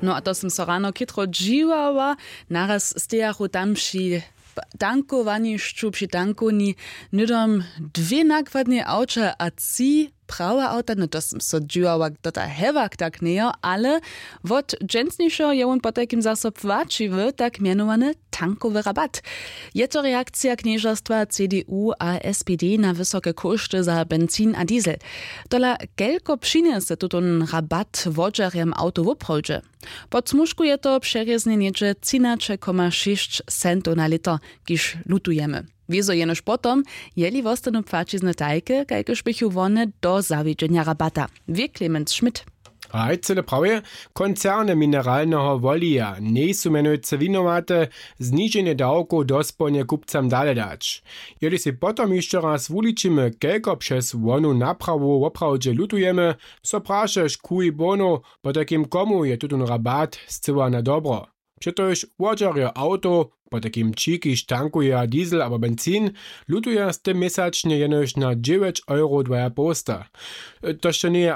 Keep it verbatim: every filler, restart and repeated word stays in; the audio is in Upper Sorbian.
No a to sym so rano chětro dźiwała. Naraz stejachu tam při tankowanišću, při tankowni hnydom dwě nakładnej awća a tři prawe awta. No to sym so dźiwała, kdo ta hewak tak njejo, ale wot dźensnišeho je wón potajkim zaso płaćiwy tak mjenowany tankowy rabat. Je to reakcija knježerstwa C D U a S P D na wysoke kóšty za benzin a diesel. Tola kelko přinjese tutón rabat wodźerjam awtow woprawdźe? Pod smužku je to přerězne něhdźe třinaće koma šěsć centow na lětr, kiž lutujemy. Wězo jenož potom, jeli wostanu płaćizny tajke, kajkež běchu wone do zawjedźenja rabata. Wě Clemens Schmidt. Haj cyle prawje. Koncerny mineralneho wolija njejsu mjenujcy winowate, zniženje dawkow dospołnje kupcam dale dać. Jeli sej potom hišće raz wuličimy, kelko přez wonu naprawu woprawdźe lutujemy, so prašeš kuj bono, potajkim komu je tutón rabat scyła na dobro. Přetož wodźerjo awtow, potajkim ći kiž tankuja diesel abo benzin, lutuja z tym měsačnje jenož na dźewjeć euro dwajapołsta. To sće njeje